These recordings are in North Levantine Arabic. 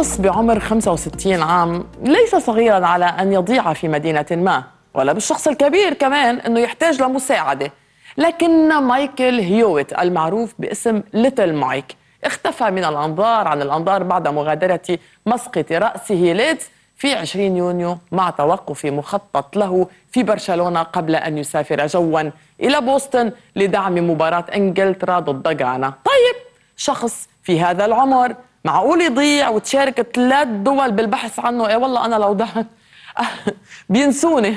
شخص بعمر 65 عام ليس صغيراً على أن يضيع في مدينة ما، ولا بالشخص الكبير كمان أنه يحتاج لمساعدة. لكن مايكل هيويت المعروف باسم ليتل مايك اختفى من الأنظار عن الأنظار بعد مغادرة مسقط رأسه ليدز في 20 يونيو مع توقف مخطط له في برشلونة قبل أن يسافر جواً إلى بوسطن لدعم مباراة إنجلترا ضد غانا. طيب، شخص في هذا العمر معقول يضيع وتشارك 3 دول بالبحث عنه؟ ايه والله انا لو ضعت بينسوني،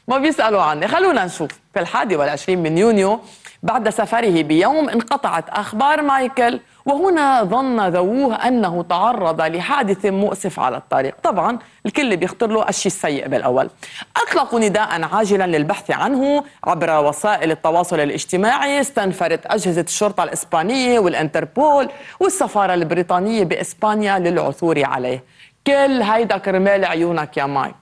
ما بيسألوا عني. خلونا نشوف. في 21 من يونيو بعد سفره بيوم انقطعت أخبار مايكل، وهنا ظن ذووه أنه تعرض لحادث مؤسف على الطريق. طبعا الكل بيخطر له الشيء السيء بالأول. أطلقوا نداء عاجلا للبحث عنه عبر وسائل التواصل الاجتماعي. استنفرت أجهزة الشرطة الإسبانية والإنتربول والسفارة البريطانية بإسبانيا للعثور عليه. كل هيدا كرمال عيونك يا مايك.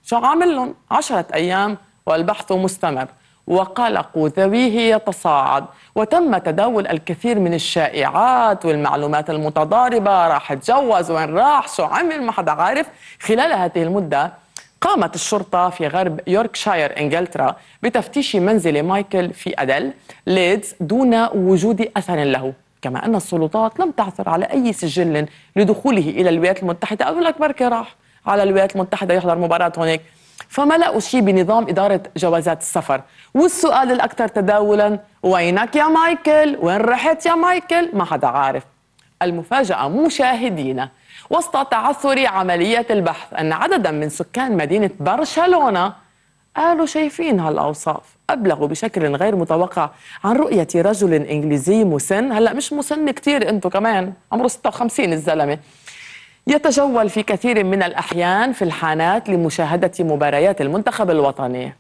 شو عامل لهم؟ 10 أيام والبحث مستمر، وقلق ذويه يتصاعد، وتم تداول الكثير من الشائعات والمعلومات المتضاربة. راح اتجوز، وين راح، شو عمل، ما حدا عارف. خلال هذه المدة قامت الشرطة في غرب يوركشاير إنجلترا بتفتيش منزل مايكل في أدل ليدز دون وجود أثر له، كما أن السلطات لم تعثر على أي سجل لدخوله إلى الولايات المتحدة. أقول لك بركة راح على الولايات المتحدة يحضر مباراة هناك. فما لقوا شيء بنظام إدارة جوازات السفر. والسؤال الأكثر تداولاً: وينك يا مايكل؟ وين رحت يا مايكل؟ ما حدا عارف. المفاجأة مشاهدينا وسط تعثر عملية البحث أن عدداً من سكان مدينة برشلونة قالوا شايفين هالأوصاف. أبلغوا بشكل غير متوقع عن رؤية رجل إنجليزي مسن، هلأ مش مسن كتير، أنتو كمان عمره 56 الزلمة، يتجول في كثير من الأحيان في الحانات لمشاهدة مباريات المنتخب الوطني.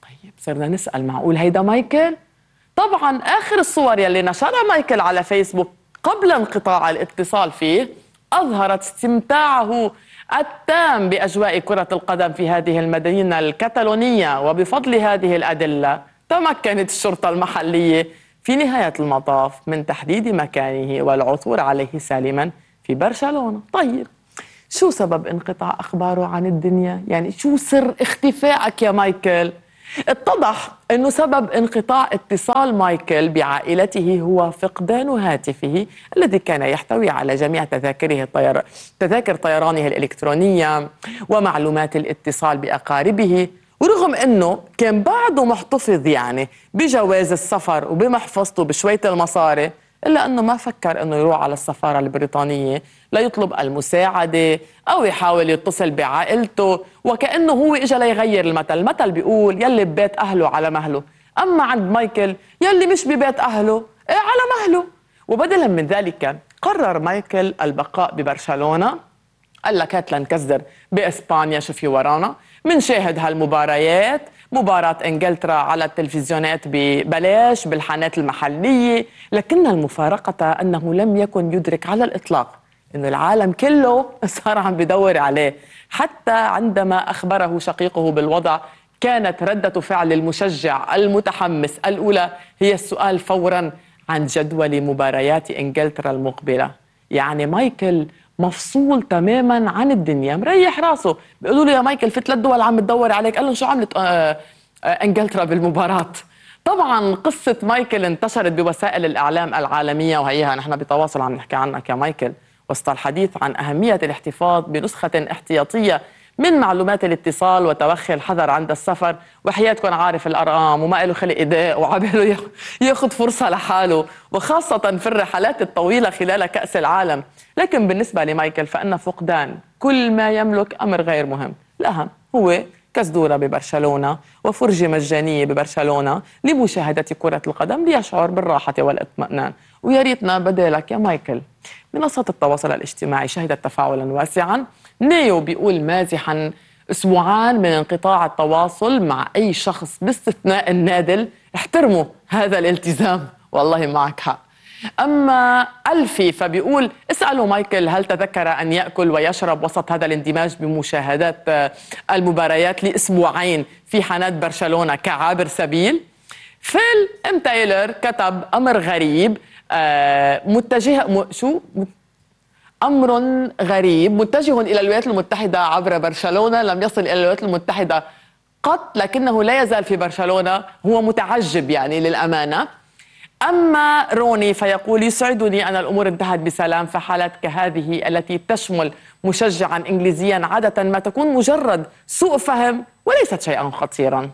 طيب صرنا نسأل: معقول هيدا مايكل؟ طبعا آخر الصور يلي نشرها مايكل على فيسبوك قبل انقطاع الاتصال فيه أظهرت استمتاعه التام بأجواء كرة القدم في هذه المدينة الكتالونية. وبفضل هذه الأدلة تمكنت الشرطة المحلية في نهاية المطاف من تحديد مكانه والعثور عليه سالما في برشلونة. طيب، شو سبب انقطاع أخباره عن الدنيا؟ يعني شو سر اختفائك يا مايكل؟ اتضح أنه سبب انقطاع اتصال مايكل بعائلته هو فقدان هاتفه الذي كان يحتوي على جميع تذاكر طيرانه الإلكترونية ومعلومات الاتصال بأقاربه. ورغم أنه كان بعده محتفظ يعني بجواز السفر وبمحفظته بشوية المصاري، إلا أنه ما فكر أنه يروح على السفارة البريطانية ليطلب المساعدة أو يحاول يتصل بعائلته، وكأنه هو إجا ليغير المثل بيقول: يلي ببيت أهله على مهله. أما عند مايكل يلي مش ببيت أهله على مهله. وبدلا من ذلك قرر مايكل البقاء ببرشلونة. قال لك هات لنكزر بإسبانيا، شو في ورانا، منشاهد هالمباريات، مباراة إنجلترا على التلفزيونات ببلاش بالحانات المحلية. لكن المفارقة أنه لم يكن يدرك على الإطلاق أنه العالم كله صار عم بدور عليه. حتى عندما أخبره شقيقه بالوضع كانت ردة فعل المشجع المتحمس الأولى هي السؤال فوراً عن جدول مباريات إنجلترا المقبلة. يعني مايكل مفصول تماماً عن الدنيا، مريح راسه. بيقولوا له: يا مايكل في 3 دول عم تدور عليك. قال لهم: شو عملت إنجلترا بالمباراة؟ طبعاً قصة مايكل انتشرت بوسائل الإعلام العالمية، وهيها نحن بتواصل عم نحكي عنك يا مايكل، وسط الحديث عن أهمية الاحتفاظ بنسخة احتياطية من معلومات الاتصال وتوخي الحذر عند السفر. وحياتكم عارف الأرقام وما له خلق إيداء وعباله ياخد فرصة لحاله، وخاصة في الرحلات الطويلة خلال كأس العالم. لكن بالنسبة لمايكل فإن فقدان كل ما يملك أمر غير مهم. الأهم هو كزدورة ببرشلونة وفرجة مجانية ببرشلونة لمشاهدة كرة القدم ليشعر بالراحة والاطمئنان. ويا ريتنا بدالك يا مايكل. منصات التواصل الاجتماعي شهدت تفاعلا واسعا. نيو بيقول مازحا: 2 من انقطاع التواصل مع أي شخص باستثناء النادل، احترموا هذا الالتزام. والله معك حق. أما ألفي فبيقول: اسألوا مايكل هل تذكر أن يأكل ويشرب وسط هذا الاندماج بمشاهدات المباريات ل2 في حانات برشلونة كعابر سبيل. فيل ام تايلر كتب أمر غريب أمر غريب متجه إلى الولايات المتحدة عبر برشلونة، لم يصل إلى الولايات المتحدة قط، لكنه لا يزال في برشلونة. هو متعجب يعني للأمانة. أما روني فيقول: يسعدني أن الأمور انتهت بسلام، فحالات كهذه التي تشمل مشجعا إنجليزيا عادة ما تكون مجرد سوء فهم وليست شيئا خطيرا.